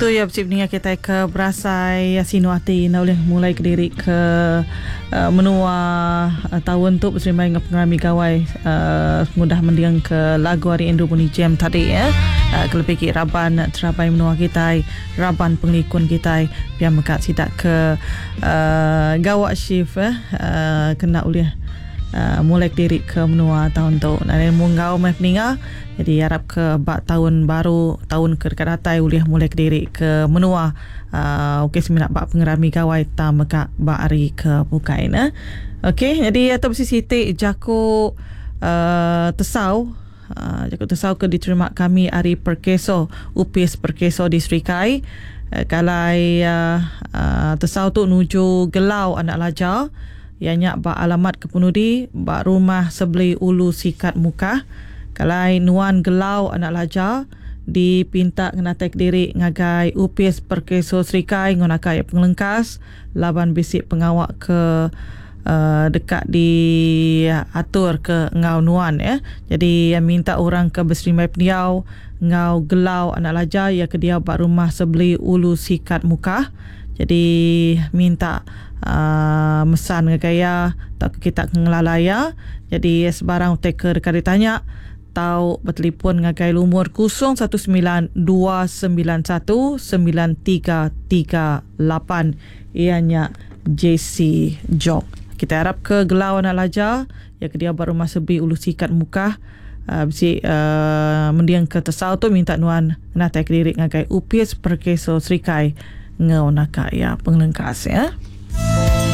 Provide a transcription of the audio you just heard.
Tentu iya bisi peninga kitai ke berasai sinu ati enda ulih mulai kediri ke menua taun tu beserimbai enggau pengerami gawai pengudah mending ke lagu ari Andrew Bunny Jam tadi ya. Kelebih agi raban terabai menua kitai, raban pengelikun kitai pia mega sida ke gawa shift kena ulih mulai kediri ke menua taun tu. Nadai nemu enggau meh peninga. Jadi arap ke ba taun baru taun ke deka datai ulih mulai kediri ke menua uhh ukai semina ba pengerami gawai tang mega ba hari ke bukai ne. Okey nyadi tu bisi siti jaku uhh tesau uhh jaku tesau ke diterima kami ari Perkeso Opis Perkeso di Serikai kalai uhh tesau tu nuju Gelau Anak Laja Iya nya ba alamat kepenudi ba Rumah Sebeli Ulu Sikat Mukah, kelai nuan Gelau anak Laja dipinta ngenatai kediri ngagai Opis Perkeso Serikai enggau naka iya pengelengkas laban bisi pengawa ke deka diatur ke enggau nuan. Jadi iya minta orang ke beserimbai pendiau enggau Gelau anak Laja iya ke diau ba Rumah Sebeli Ulu Sikat Mukah. Jadi minta uhh mesan ngagai iya tauka kita ke ngelala iya. Jadi sebarang utai ke deka ditanya tau betelipon ngagai lumur 0192919338 iya nya JC Jok. Kitai arap ke Gelau anak Laja iya ke diau ba Rumah Sebi Ulu Sikat Mukah uhh bisi uhh mending ke tesau tu minta nuan ngenatai kediri ngagai Opis Perkeso Serikai enggau naka iya pengelengkas iya.